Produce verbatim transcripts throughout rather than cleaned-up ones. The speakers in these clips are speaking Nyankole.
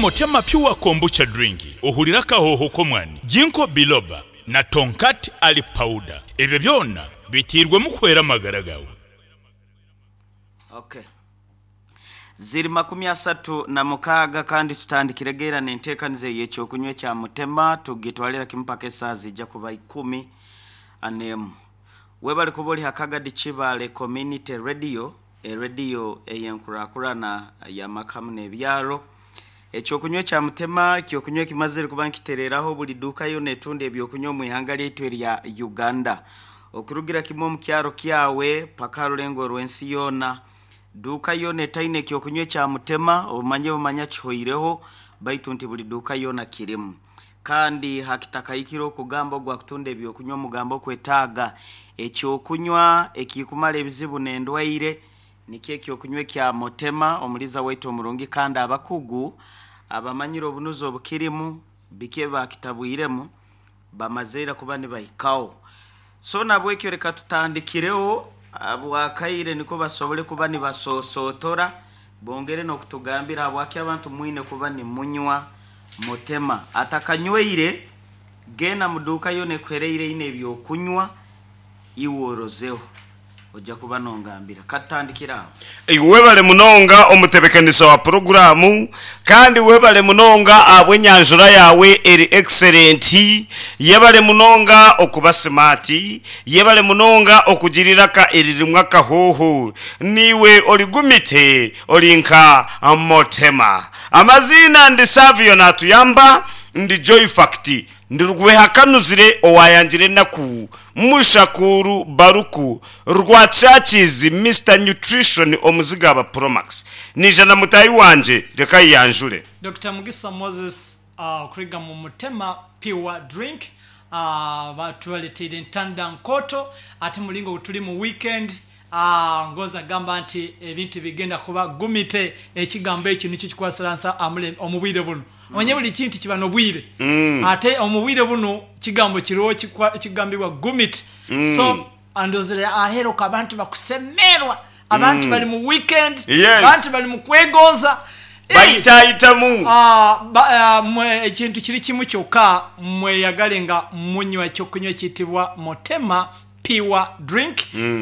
Motema Pure Kombucha Drink ohurire akahooho k'omwani, Ginkgo Biloba na Tongkat Ali Powder. Ebyo byona biteirwemu kuhwera amagara gaawe. Okay. Ziri makumi asatu na mukaaga kandi tutandikire geera n'enteekaniza ey'ekyokunywa ekya Mutema tugitwalira kimu paka esaaha ziija kuba ikumi n'emu. Webale kuba ori ha Kagadi Kibaale Community Radio, erediyo ey'enkurakurana y'amaka hamu n'ebyaro. Ekyokunywa ekya Mutema ekyokunywa ekimazire kuba nkitereeraho buli duuka yoona etunda ebyokunywa omu ihanga lyaitu erya Uganda. Okurugira kimwe omu kyaro kyawe paka aha rurengo rw'ensi yoona, duuka yoona etaine ekyokunywa ekya Mutema obumanye bumanya kihoireho baitu nti buli duuka yoona kirimu. Kandi hakitakahikire okugamba ogwa kutunda ebyokunywa omugambo okwetaaga ekyokunywa ekikumara ebizibu n'endwaire nikyo ekyokunywa ekya Mutema omuliza waitu omurungi kandi abakugu abamanyire obunuzi obukirimu biki ebibakitabwiremu bamazeire kuba nibahikaho. So nabwekyo reka tutandikireho abwakaire niko basobole kuba nibasosotora bongere n'okutugambira habwaki abantu mwine kuba nimunywa Mutema. Atakanyweire genda mu duuka yoona ekuhereire eine ebyokunywa iwe orozeho ojja kuba nongambira. Katutandikire aho. Webale munonga omutebekanisa wa puroguraamu kandi webale munonga ahabw'enyanjura yaawe eri excellent. Yebale munonga okuba smart, yebale munonga okugira eiraka eririmu akahooho. Niiwe origumite ori nka Motema. Amaziina ndi Savio Natuyamba, ndi Joy Fact, ndi Rwehakanuzire owaayangira enaku, Mushakuuru Baruku, Rwakyakiizi, Mister Nutrition Omuzigaba Promax. Naija na mutaahi wangye, reka ayeyanjure. Dokita Mugisa Moses okuruga mu Mutema Pure Drink batureteire entanda nkooto ate muringo ogu turi mu weekend Ngozi agamba nti ebintu bigenda kuba gumite. Ekigambo ekyo nikyo kikwasiransa omu bwire bunu. Omanye buri kintu kiba n'obwire ate omu bwire bunu kigambo kiriho ekigambibwa gumite. So ndozire aheeru okwo abantu bakusemerwa, abantu bari mu weekend, abantu bari mu kwegonza. Bayitayitamu. Ekintu kiri kimwe kyonka, mweyagare nga munywa ekyokunywa ekiyitibwa Mutema Pure Drink,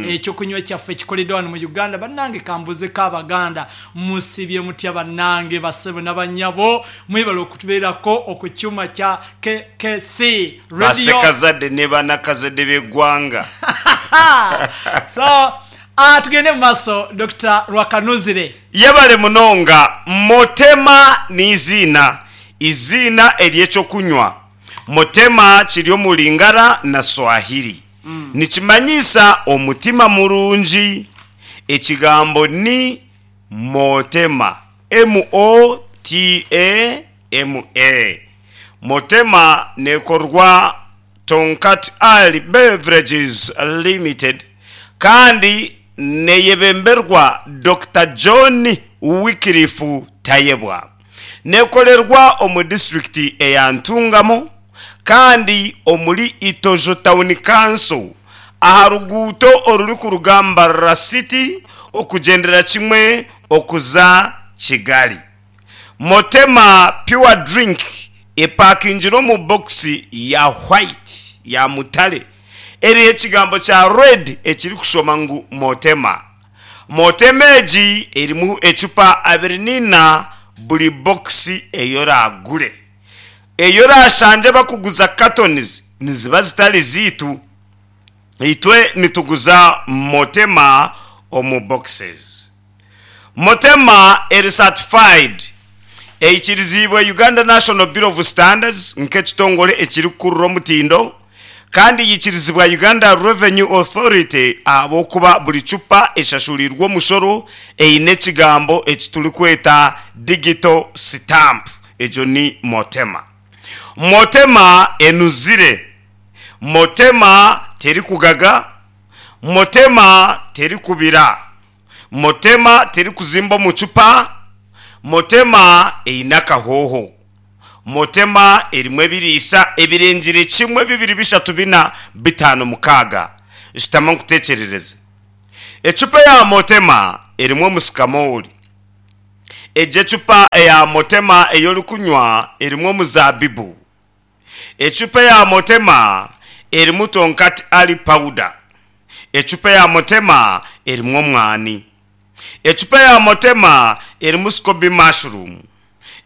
ekyokunywa kyaffe ekikoleddwa wano mu Uganda. Bannange kambuzeko Abaganda, musibye mutya bannange basebo n'abanyabo, mwebale okutubeerako oku kyuma kya K K C Radio. Basekazadde ne banakazadde b'eggwanga. So uh, tugende mu maaso Dokita Rwakanuzire. Yebale munonga. Motema n'eiziina, eiziina ery'ekyokunywa. Motema kiri omu Lingala na Swahili. Nikimanyisa omutima murungi. Ekigambo ni Motema, M O T A M A. Motema neekorwa Tonkat Ali Beverages Limited kandi neeyebemberwa Dokita John Wycliffe Tayebwa. Neekorerwa omu disiturikiti eya Ntungamo kandi omuri Itojo Town Council aha ruguuto orurikuruga Mbarara City okugyendera kimwe okuza Kigali. Motema Pure Drink epakingire omu bokisi ya white, ya mutare, eriho ekigambo kya red ekirikushoma ngu Motema. Motema egi erimu ecupa abiri n'eina buri bokisi ei oraagure. Ei oraashangye bakuguza cartons niziba zitari zaitu. Itwe nituguza Motema omu boxes. Motema eri certified, eikiriziibwe Uganda National Bureau of Standards nk'ekitongore ekirikukurura omutindo kandi yaikirizibwa Uganda Revenue Authority ahabw'okuba buri cupa eshashuriirwe omushoro eine ekigambo eki turikweta digital stamp. Egyo ni Motema. Motema enuzire. Motema terikugaga. Motema terikubira. Motema terikuzimba omu cupa. Motema eine akahooho. Motema erimu ebiriisa ebirengire kimwe, bibiri, bishatu, bina, bitaano, mukaaga. Shutama nkutekyerereze. Ecupa ya Motema erimu omusikamooli, Egyo ecupa eya motema ey'orikunywa erimu omuzabibu. Ecupa eya motema erimu tonkat ali powder. Ecupa eya motema erimu omwani. Ecupa ya motema erimu scoby mushroom.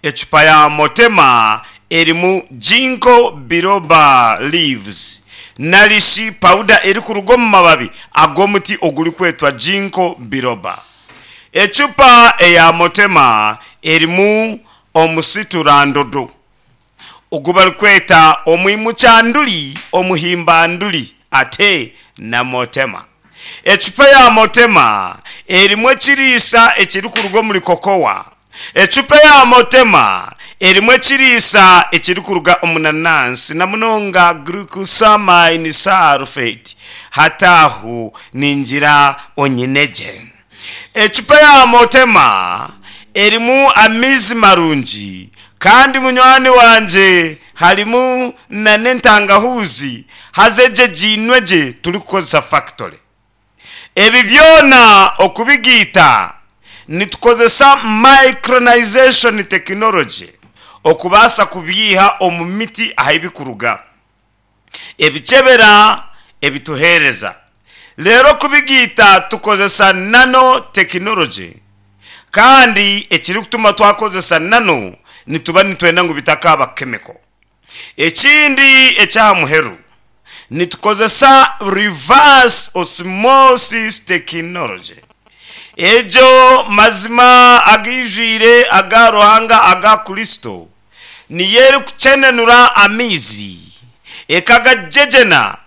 Ecupa ya motema erimu ginkgo biloba leaves narishi powder erikuruga omu mababi ag'omuti ogurikwetwa ginkgo biloba. Ecupa eya motema erimu omusiturandodo ogu barikweta omwimukyanduri, omuhimbanduri ate na motema. Ecupa ya motema erimu ekiriisa ekirikuruga omuri kokowa. Ecupa ya motema erimu ekiriisa ekirikuruga omu nanansi na munonga glucosamine sulfate. Hatahu ningira onyineje. Ecupa ya motema erimu amaizi marungi kandi munywani wanje harimu na n'entangahuzi haza egye giinwe gye turikukozesa factory. Ebi byona okubigiita nitukozesa micronization technology okubaasa kubyiha omu miti ahu bikuruga, ebikyebera ebituheereza. Reero okubigiita tukozesa nano technology, kandi ekirikutuma twakozesa nano nituba nitwenda ngu bitakaba chemical. Ekindi ekyaha muheru nitukozesa reverse osmosis technology. Egyo mazima agaijwire aga Ruhanga aga Kristo niyo erikukyenenura amaizi ekagagyegyena,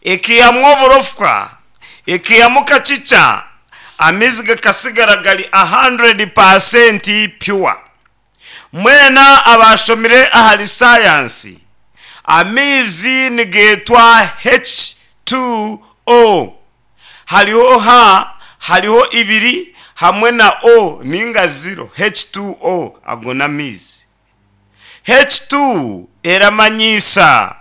ekihamu oburofwa, ekihamu kakica, amaizi gakasigara gari one hundred percent pure. Mwena abashomire ahari sayansi, amaizi nigetwa H two O. Hariho H, hariho ibiri hamwe na O ninga zero. H two O ago n'amaizi. H two eramanyisa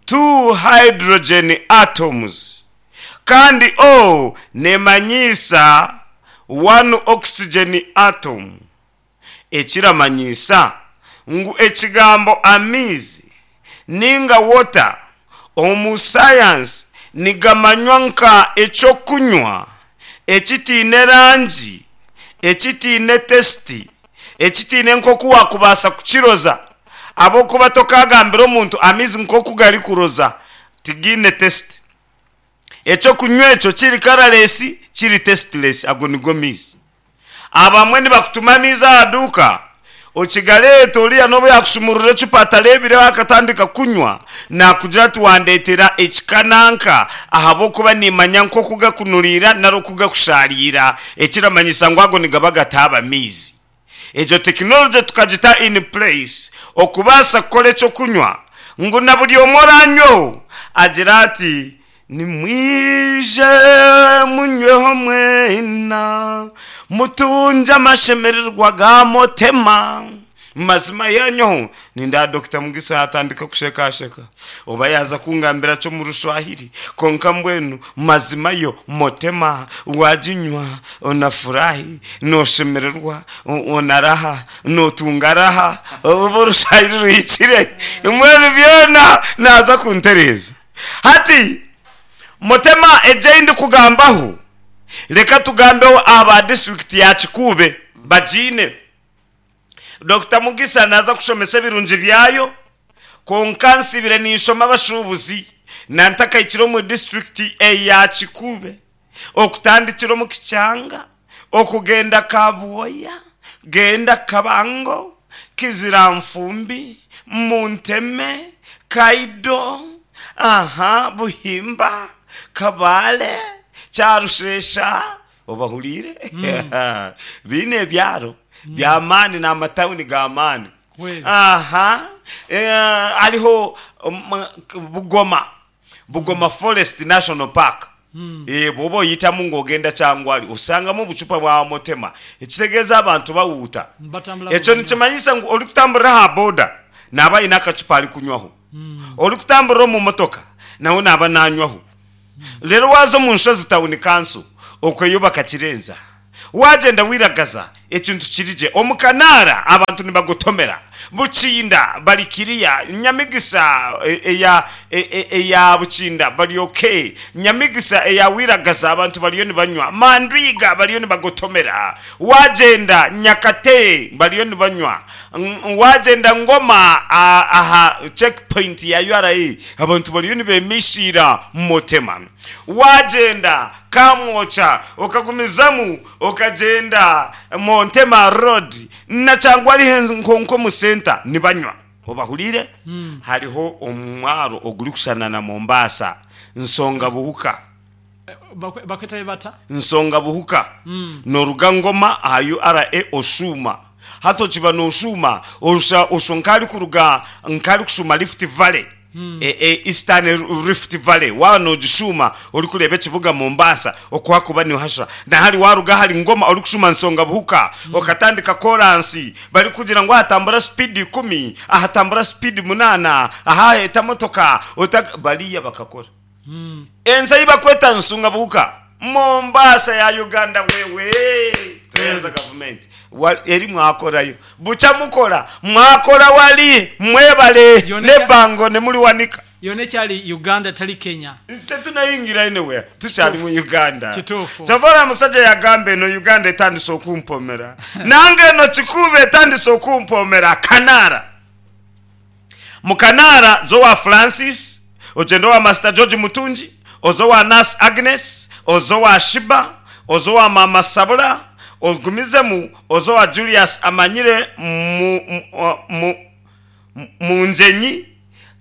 two hydrogen atoms, kandi O nemanyisa one oxygen atom, ekiramanyisa ngu ekigambo amaizi ninga water omu sayansi nigamanywa nka ekyokunywa ekitiine rangi, ekitiine taste, ekitiine nk'oku wakubaasa kukiroza, ahabw'okuba tokagambira omuntu amaizi nk'oku garikuroza, tigiine taste. Ekyokunywa ekyo kiri colourless, kiri tasteless, ago nigo maizi. Abamwe nibakutuma amaizi aha duuka, okigareeta, oriya n'obu yakushumurura ecupa atareebireho akatandika kunywa, nakugira ati wandetera ekikananka ahabw'okuba nimanya nk'oku gakunuriira nari oku gakusharira, ekiramanyisa ngu ago nigaba gataaba maizi. Egyo tekinology tukagita in place okubaasa kukora ekyokunywa ngu na buri omwe oranyweho agira ati nimwije munyweho mwena mutunge amashemererwa ga motema. Mazima yanyoho ninda Doctor Mugisa atandika kushekasheka oba yaza kungambira cyo mu Rushwahiri, konka mbwenu mazima yo motema waginywa onafurahi, noshemererwa, onaraha, notunga raha, oba Orushwahiri ruhikire, mbwenu byona naza kuntereza. Hati motema eje ndi kugambaho, reka tugambeho aba district ya Kikuube bagiine. Doctor Mugisa naza kushomesa ebirungi byayo, konka nsibire ninshoma abashubuzi nantakaikire omu district eya Kikuube, okutandikira omu Kikyanga, okugenda Kabwoya, genda Kabango, Kiziranfumbi, Munteme, Kaido, aha Buhimba, Kabale, Kyarushesha, obahurire biine ebyaro byamaani n'amatawuni g'amaani. Kweli. Aha eh, hariho um, Bugoma Bugoma Forest National Park. Eh, bw'oba oyitamu ng'ogenda Kyangwali osangamu obucupa bwa motema, ekitegeeza abantu bawuuta. Batambula Ekyo bulungi. nikimanyisa ngu orikutambulira aha boda naaba aine akacupa ari kunywaho, orikutambulira omu motoka nawe naaba nanywaho. Rero waza omu nshozi town council okweyo bakakirenza, wagenda wiragaza. Ekintu kirije omukanara abantu nibagotomera Bukinda bari kiriya Nyamigisa eya eya Bukinda bari okay, Nyamigisa eya Wiragaza abantu bariyo nibanywa, Mandwiga bariyo nibagotomera, wagyenda Nyakate bariyo nibanywa, wagyenda Ngoma aha checkpoint ya U R A abantu bariyo nibemishira Mutema, wagyenda Kamwokya okagumizamu okagyenda Montema Road na cyangwa ari nko mu center nibanywa obahurire. Hariho omwaro ogurikushushana na Mombasa, Nsonga Buhuka. Bakwetayo bata? Nsonga Buhuka. Noruga Ngoma aha U R A oshuma hati okiba noshuma orusha osho nkari kuruga nkari kushuma Rift Valley, e, e, Eastern Rift Valley, waba nogishuma orikureba ekibuga Mombasa okuhakuba nihasha nahari waruga hari Ngoma orikushuma Nsonga Buhuka okatandika koransi bari kugira ngu ahatambura speed ikumi, ahatambura speed munana, ahaheta motoka otaka, bariya bakakora ensi ei bakweta Nsunga Buhuka, Mombasa ya Uganda. Wewe tweyanza gavumenti. Wa- eri mwakorayo bucha mukora mwakora wali mwebale. Yone- nebango nemuliwanika. Yona ekyali Uganda tali Kenya. Tetunayingira anywhere, tukyali mu Uganda. Kituufu. Kyova musajja yagamba eno Uganda etandise okumpomera, nange eno Kikuube etandise okumpomera. Kanara, mu Kanara zowa Francis, ogenda owa Master George Mutungi, ozowa Nas Agnes, ozowa Shiba, ozowa Mama Sabula, ogumizemu ozowa Julius Amanyire mu, mu, mu, munjenyi,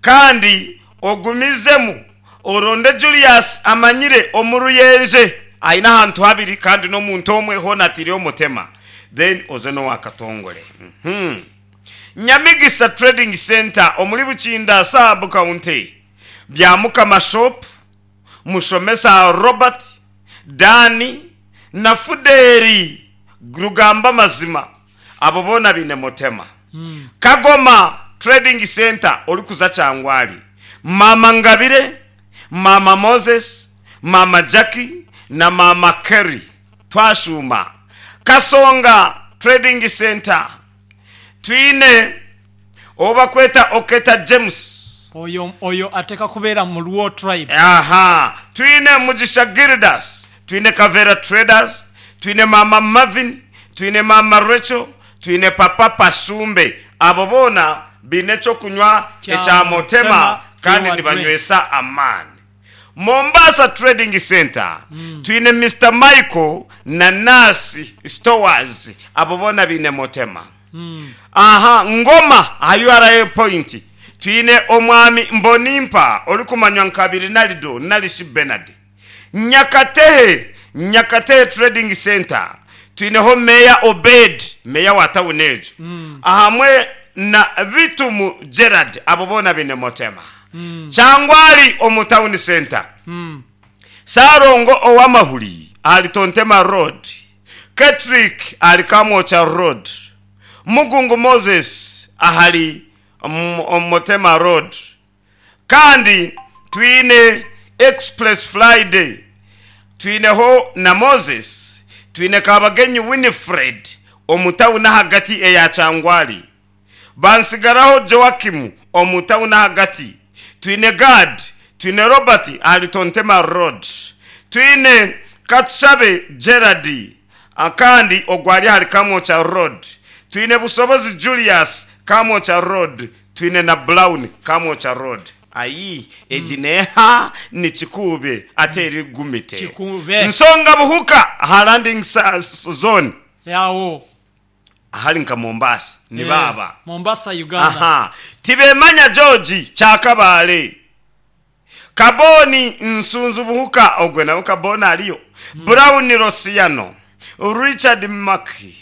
kandi ogumizemu oronde Julius Amanyire omuruyenje ayina ahantu habiri kandi n'omuntu omwe hona atiri omutema, then oze n'owakatongole. mm -hmm. Nyamigisa Trading Center omuri Bukinda sub county, Byamukama Shop, Mushomesa Robert Dani na Fuderi Rugamba Mazima, abo boona bine mutema. mm. Kagoma Trading Center orikuza Kyangwali, Mama Ngabire, Mama Moses, Mama Jackie na Mama Kerry. Twashuma Kasonga Trading Center, twine obakweta Oketa James. Oyo oyo ateka kubeera mu Luo tribe. Aha, twine Mugisha Gildas, twine Kavera Traders, twine Mama Marvin, twine Mama Rachel, twine Papa Pasumbe, abo boona bine ekyokunywa Kya ekya Mutema Mutema kandi Pure. nibanywesa amaani. Mombasa Trading Center, mm. twine Mister Michael na Nasi Stores, abo boona bine Mutema. mm. Aha Ngoma aha U R A point twine omwami Mbonimpa orikumanywa nka Birinarido Nalishi Benard. Nyakatehe, Nyakatehe Trading Center, twineho Meya Obed, meya wa tawuni ejo, mm. ahamwe na Bitumu Gerard, abo boona bine Mutema. mm. Kyangwali omu town center, Mm. Sarongo owamahuri ali Tontema Road, Ketrik ali Kamwocha Road, Mugungu Moses ahali Motema Road, kandi twine Express Friday, twineho na Moses, twine Kabagenyi Winifred omutawuni hagati eya Kyangwali, bansigaraho Joakimu omutawuni hagati, twine Gad, twine Robert ali Tontema Road, twine Katushabe Gerard kandi ogwali ahali Kamwocha Road, twine Busobozi Julius Kamwocha Road, twine na Brown Kamwocha Road. Ayi egi neha ni Kikuube ate eri gumite. Kikuube. Nsonga Buhuka aha landing sa- zone Yawo ahali nka Mombasa ni baba. Eh, Mombasa Uganda. Aha, Tibemanya George Kyakabaale, Kaboni Nsunzu Buhuka, ogwe nawe Kaboni aliyo, mm. Brown Rosiano, Richard Maki,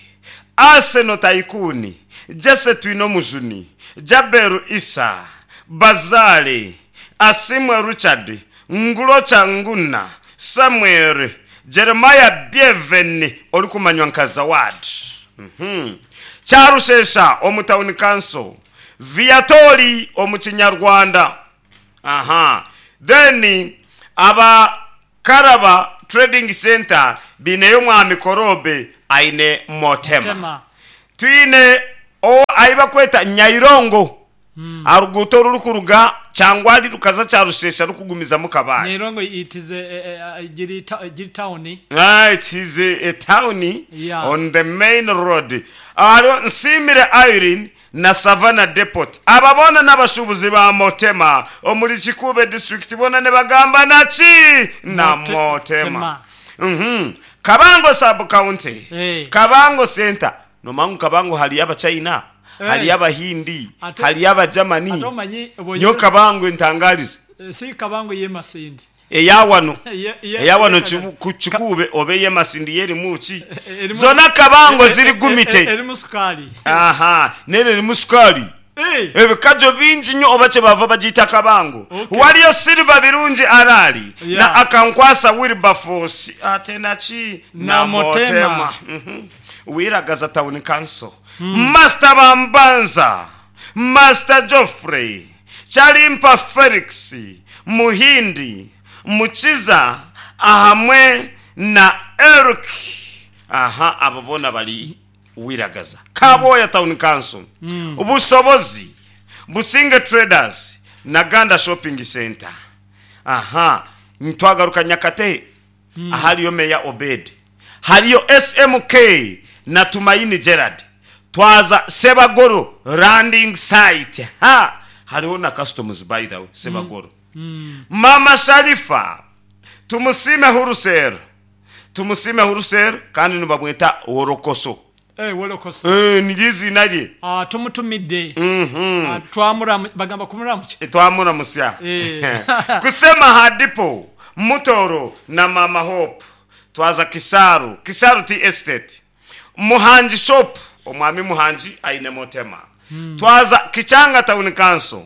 Arsenal Taikuni, Jesse Twino Mujuni, Jaberu Isa Bazale, Asimwe Richard Ngulocha, Nguna Samuel, Jeremiah Bieveni orikumanywa nka Zawad. mm -hmm. Kyarushesha omu town council, Viatori omu Kinyarwanda. Aha, then Abakaraba Trading Center bineyo mwami Korobe aine Motema. Tema. Twine o ahi bakweta Nyairongo aha ruguuto orurikuruga Kyangwari rukaza Kyarushesha rukugumizamu Kabale. Nyairongo it is a, a, a, giri ta- giri town. Ah, it is a, a town Yeah. on the main road. Hariho Nsiimire Irene na Savannah Depot. Aba boona n'abashuubuzi ba Motema omuri Kikuube district boona nibagamba naki na Mote- Motema. Tema. Mhm. Kabango sub county. Eh. Kabango center. Nomanya ngu Kabango hariyo Abachina, Eh. hariyo Abahindi, Ate- hariyo Abajamani. Ate omanyi bw'ogira- Nyo Kabango entangarize. Eh, si Kabango y'emasindi. Eyawano. Ye- ye- Eyawano ye- Kibu- ku Kikuube oba ey'emasindi yerimu ki? Erimu- Zona Kabango Eh, eh, ziri eh, eh, gumite. Erimu sukaali. Aha, nere erimu sukaali. Eh, Ebikajo bingi nnyo oba kyebava bagiyita Kabango. Okay. Waliyo Silver Birungi Arali Yeah. na Akankwasa Wilberforce ate naki Na na Motema. Motema. Mhm. Wiragaza Town Council. Master Bambanza, Master Geoffrey, Chalimpa Felix, Muhindi, Mukiza ahamwe na Eric. Aha, abo boona bari Wiragaza. Kaboya Town Council. Busobozi, Businge Traders na Ganda Shopping Center. Aha, ntwagaruka Nyakate ahariyo Meya Obed. Hariyo S M K na Tumaini Gerard. Twaza Sebagoro landing site. Ha, hariho na customs by the way, Sebagoro. Mama Sharifa, tumusime Hurusero. Tumusime Hurusero kandi nibamweta Worokoso. eh, Worokoso. Eh, niryo izina rye. Ah, tumutumidde. Mhm. Ah, twamuramu- bagamba kumuramuki? Twamuramusya. Eh. Kusema hadipo Mutoro na Mama Hope. Twaza Kisaru, Kisaru Tea Estate. Muhanji Shop, omwami Muhanji aine Motema. Twaza Kichanga Town Council.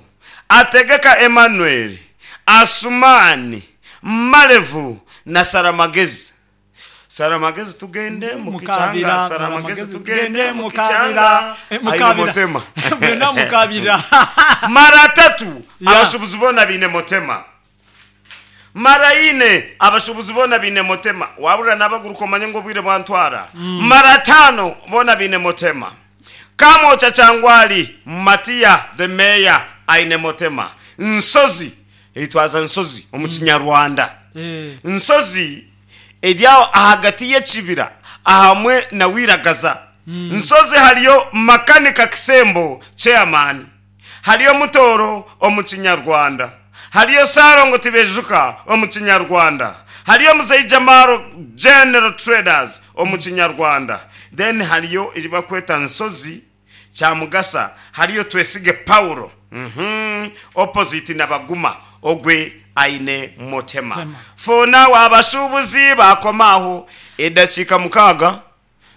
Ategeka Emmanuel, Asumani, Malevu na Saramagezi. Saramagezi tugende mu Mukabira, Kichanga, Saramagezi tugende mu Kichanga. Eh, Aine mukabira. Motema. Byonna mukabira. Mara tatu Yeah. abashubuzi boona biine Motema. Mara ine abashubuzi boona biine Motema. Wabura n'abaguruka omanye ngu obwire bwantwara. Mara tano boona biine Motema. Kamocha Kyangwali, Matia the mayor aine Motema. Nsozi, etwaza Nsozi omu Kinyarwanda. Eh, Nsozi eri aho ahagati y'ekibira ahamwe na Wiragaza. Nsozi hariyo Makanika Kisembo chairman. Hariyo Mutoro omu Kinyarwanda. Hariyo Sarongo Tibejuka omu Kinyarwanda. Hariyo Muzeyi Jamaro General Traders omu Kinyarwanda. Then hariyo eribakweta Nsozi Kyamugasa. Hariyo Twesige Paulo. Mhm. Opposite na Baguma ogwe aine Motema. Tema. For now abashubuzi bakomaho edakiika mukaaga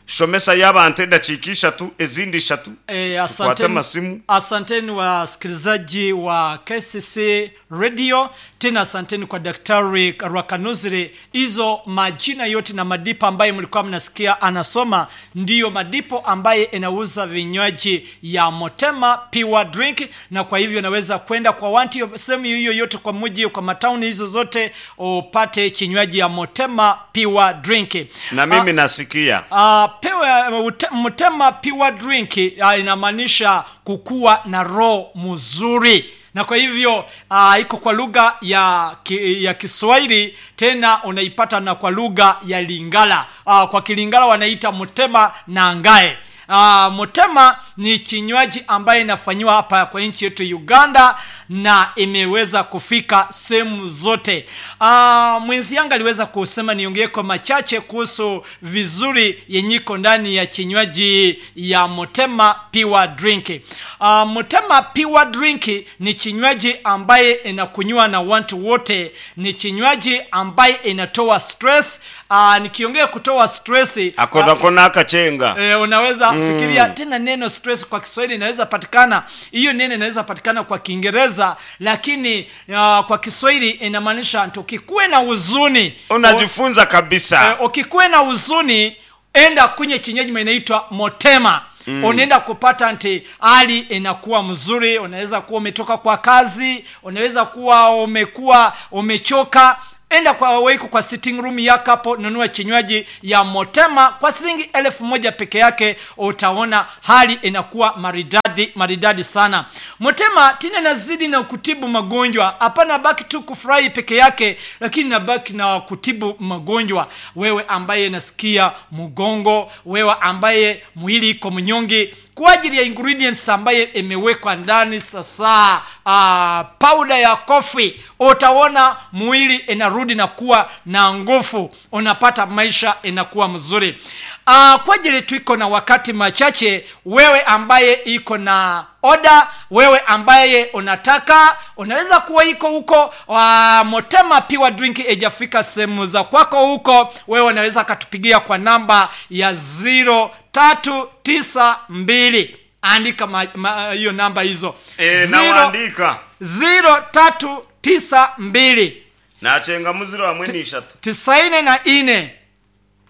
shomesa y'abantu edakiika ishatu ezindi ishatu. Eh, Tukwate asanteni, amasimu. asanteni wasikilizaji wa K C C Radio, tena asanteni kwa Daktari Rwakanuzire. Hizo majina yote na madipo ambaye mlikuwa mnasikia anasoma ndiyo madipo ambaye inauza vinywaji ya Motema Pure Drink, na kwa hivyo naweza kwenda kwa wanti sehemu hiyo yote kwa mji, kwa matauni hizo zote upate kinywaji ya Motema Pure Drink. Na mimi nasikia. Ah, pewe, ute, Motema Pure Drink, ah, inamaanisha kukuwa na roho mzuri, na kwa hivyo, ah, iko kwa lugha ya ki, ya Kiswahili, tena unaipata na kwa lugha ya Lingala. Ah, kwa Kilingala wanaita Motema na Ngae. Ah, Motema ni kinywaji ambaye inafanyiwa hapa kwa nchi yetu Uganda na imeweza kufika sehemu zote. Ah, mwenzi yangu aliweza kusema niongee kwa machache kuhusu vizuri yenyiko ndani ya kinywaji ya Motema Pure Drink. Ah, Motema Pure Drink ni kinywaji ambaye inakunywa na watu wote, ni kinywaji ambaye inatoa stress. Ah, nikiongea kutoa stress, Akona kona akachenga. Eh, unaweza mm. fikiria tena neno stress kwa Kiswahili inaweza patikana, hiyo neno inaweza patikana kwa Kiingereza, lakini uh, kwa Kiswahili inamaanisha ukikuwe na huzuni, Unajifunza kabisa. Eh, ukikuwe na huzuni enda kunywe kinywaji inaitwa Motema. Mm. Unaenda kupata nti hali inakuwa mzuri. Unaweza kuwa umetoka kwa kazi, unaweza kuwa umekuwa umechoka, Enda kwa weiko kwa sitting room yako hapo, nunua kinywaji ya Motema kwa shilingi elfu moja peke yake, utaona hali inakuwa maridadi maridadi sana. Motema tena nazidi na kutibu magonjwa, hapana baki tu kufurahi peke yake, lakini nabaki na kutibu magonjwa. Wewe ambaye nasikia mgongo, wewe ambaye mwili iko mnyonge, kwa ajili ya ingredients ambaye imewekwa ndani sasa, uh, powder ya coffee, utaona mwili inarudi na kuwa na nguvu, unapata maisha inakuwa mzuri. Uh, kwa ajili tuiko na wakati machache, wewe ambaye iko na oda, wewe ambaye unataka unaweza kuwa iko huko wa Motema Pure Drink ijafika sehemu za kwako huko, wewe unaweza katupigia kwa namba ya zero tatu tisa mbili. Andika ma- ma- hiyo namba hizo Eh, Zero- nawaandika zero tatu tisa mbili nachenga muziro hamwe n'ishatu tisaini na ine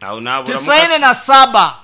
aho nabura tisaini na saba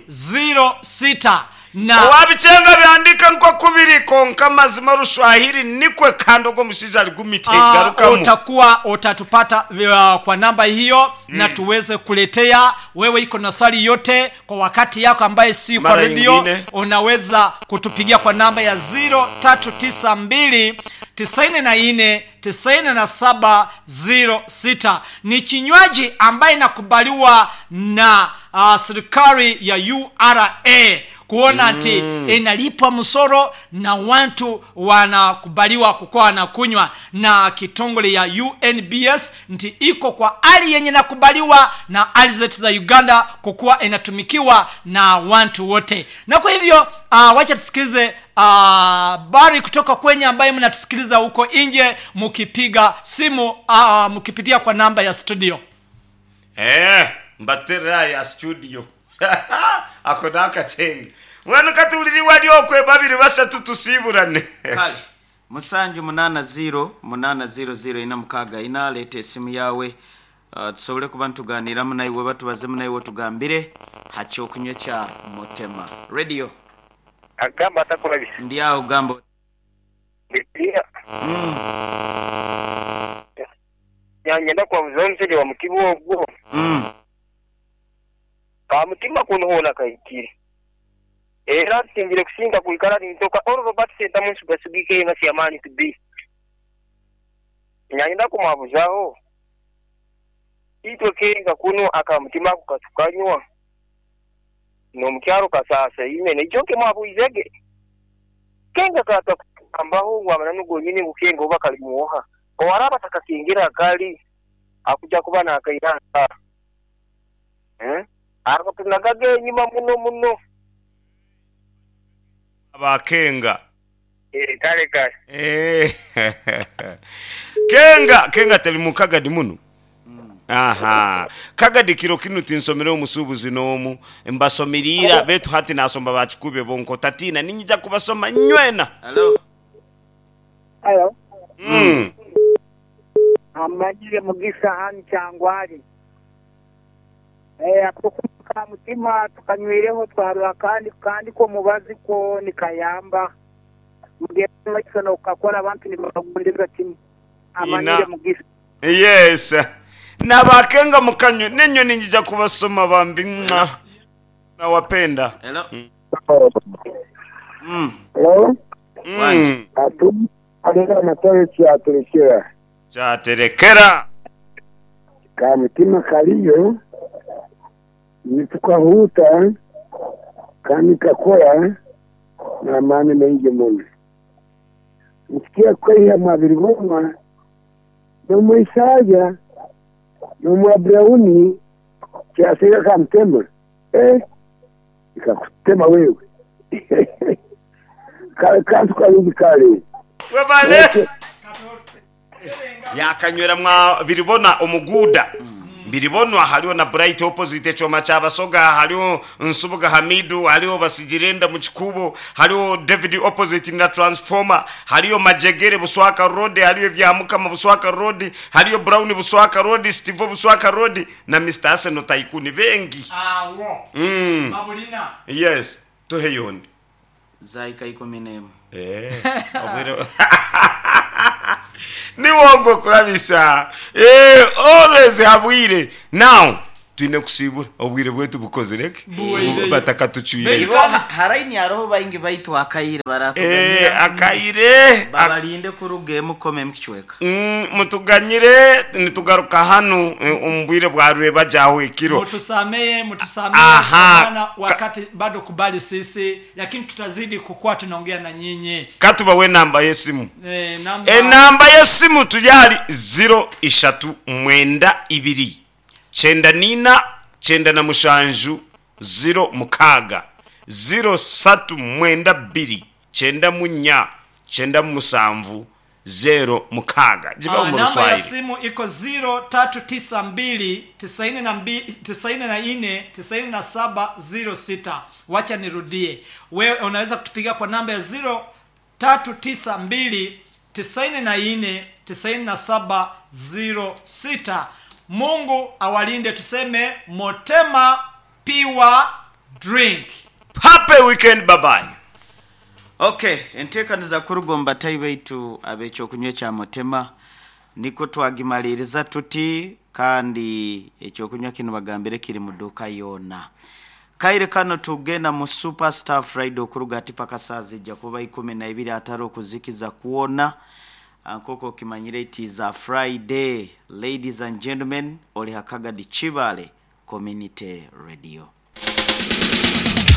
zero sita na owabicenga byandika nko kubiri konka mazima rushwahiri nikwe kandi ogwo mushaija Ah, arigumitegarukamu utakuwa utatupata uh, kwa namba hiyo mm. na tuweze kuletea wewe iko na swali yote kwa wakati yako ambaye si kwa Mara redio nyingine. unaweza kutupigia kwa namba ya zero tatu tisa mbili tisaini na nne tisaini na saba zero sita ni kinywaji ambaye inakubaliwa na uh, serikali ya U R A kuona ati mm. inalipwa msoro na watu wanakubaliwa kukuwa na kunywa na kitongole ya U N B S nti iko kwa hali yenye nakubaliwa na hali zetu za Uganda kukuwa inatumikiwa na watu wote. Na kwa hivyo uh, wacha tusikilize habari uh, kutoka kwenye ambaye mnatusikiliza huko nje mkipiga simu uh, mkipitia kwa namba ya studio. Eh, mbaterera ya studio ako nakacenga mwana katuliri wali okwe babiri basatu tusiburane. Kale musanju munana ziro munana ziro ziro ina mukaga ina, leta esimu yawe uh, tusobole kuba nituganiramu naiwe, batubazemu naiwe, tugambire hakyokunywa kya Motema Radio. Agamba atakurabisa. Ndi awo gamba. Bibiliya. mm, Nyangenda kwabuza omusajja wa mutima ogwo. mm. Ka mutima kunohoona kayitire. Era nsinzire kusinga kuikara nintoka oro Robert Sentamu nsugasugike nga siamani to be. Nyangenda kumwabuzaho. Itwe kenga kuno akamutima ako katukanywa. N'omukyaro kasasa ine nekyo nke mwabuizege. Kenga kata kukambaho ngu amananu gonyini ngu kenga oba kali muoha. Owaraba takakingira kali akuja kuba nakairanga. Eh? Ako tunagage enyuma muno muno. Abakenga. Eh, kale kale. Eh, kenga kenga teli mukagadi muno aha kagadi kiro kinu tinsomere omusuubuzi n'omu mbasomirira betu hati nasomba bakikubye bonko tatina ninyija kubasoma nywena. Hello. Halo, mm. amanyire Mugisa hani Kyangwali. Eh, ako ka mutima tukanywireho twarura kandi kandi ko mubazi ko nikayamba. Mugende maiso nokakora abantu nibagundira kimwe. Amanyire Ina. Mugisa. Yes, nabakenga mukanywe nenyo ninyija kubasoma bambi. Mwa. Nawapenda. Hello. mm. Hello? mm. Atu alera matore kyaterekera. Kyaterekera. Ka mutima kaliyo nitukahuta kandi kakora n'amaani maingi muno nsikia kweha mwabiri gomwa n'omwisaaja n'omwa Brown kyasiga kamutema eh ikakutema wewe kale kantu kalungi kale. Webale yakanywera mwa biribona omuguda biribonwa haliho na Bright opposite echoma kyabasoga, haliho Nsubuga Hamidu, haliho Basigirenda mu kikubo, haliho David opposite na transformer, haliho Majegere Buswaka Road, haliho Byamukama Buswaka Road, haliho Brown Buswaka Road, Steve Buswaka Road na Mister Arsenal Tycoon bengi. Awo mm. mabulina. Yes, tuhe yondi. Zaika ikumi n'emu. Eh, obwire. Niwogwo kurabisa. Eh, always habwire. Now twine kusibura obwire bwetu bukozire Buweireyo. batakatucwire. Ibo ha- haraini hariho baingi baitu akaire Eh, baratuganyira akaire babalinde kuruga emukome mukicweka. Mm, mutuganyire nitugaruka hano eh, omu bwire bwa rweba jaho ekiro. Mutusamee, mutusamee Aha. maana wakati bado kubali sisi, lakini tutazidi kukuwa tunaongea na nyinyi. Katubawe enamba y'esimu. Eh, namba Enamba y'esimu turi ahari ziro ishatu mwenda ibiri kyenda nina kyenda na mushanju ziro mukaaga ziro satu mwenda bbiri kyenda munya kyenda musanvu zero mukaaga giba Ah, mu namba ya Ruswahili. simu iko ziro tatu tisa mbili tisaini na mbi- tisaini na nne tisaini na saba ziro sita. Wacha nirudie, wewe unaweza kutupiga kwa namba ya ziro tatu tisa mbili tisaini na nne tisaini na saba ziro sita. Mungu awalinde, tuseme Motema Pure Drink. Happy weekend, bye bye. Okay, enteekaniza kurugomba tai baitu ab'ekyokunywa ekya mutema niko twagimaliriza tuti, kandi ekyokunywa kino bagambire kiri mu dduuka yoona. Kaire kano tugenda mu Superstar Friday okuruga ati paka saa zijja kuba ikumi na ibiri atari okuzikiza kuwona. Nk'oku okimanyire it is a Friday. Ladies and gentlemen, oli Hakagadi Kibale Community Radio.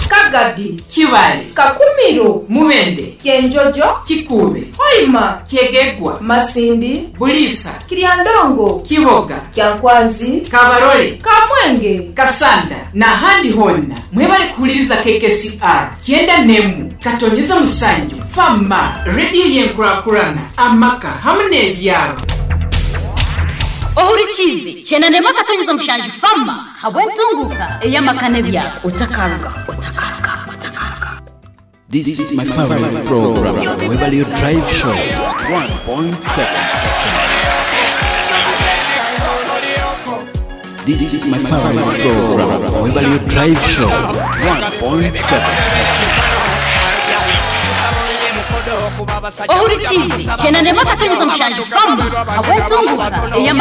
Kagadi, Kibale, Kakumiro, Mubende, Kyenjojo, Kikuube, Hoima, Kyegegwa, Masindi, Buliisa, Kiryandongo, Kiboga, Kyankwanzi, Kabarole, Kamwenge, Kasanda n'ahandi honna mwebale kuwuliriza K K C R kyenda nemu katonyeza musanju Fama rediyo y'enkurakurana amaka hamu n'ebyalo. Ohurikizi kyenda ndema akatonyeza mushanju Fama habw'entunguka ey'amaka n'ebyaro otakaruga otakaruga otakaruga. This is my favorite program, Waverly Drive Show, one point seven. This is my favorite program, Waverly Drive Show, one point seven. Ohurikizi kyenda ndema akatonyeza mushanju Fama habw'entunguka ey'amaka.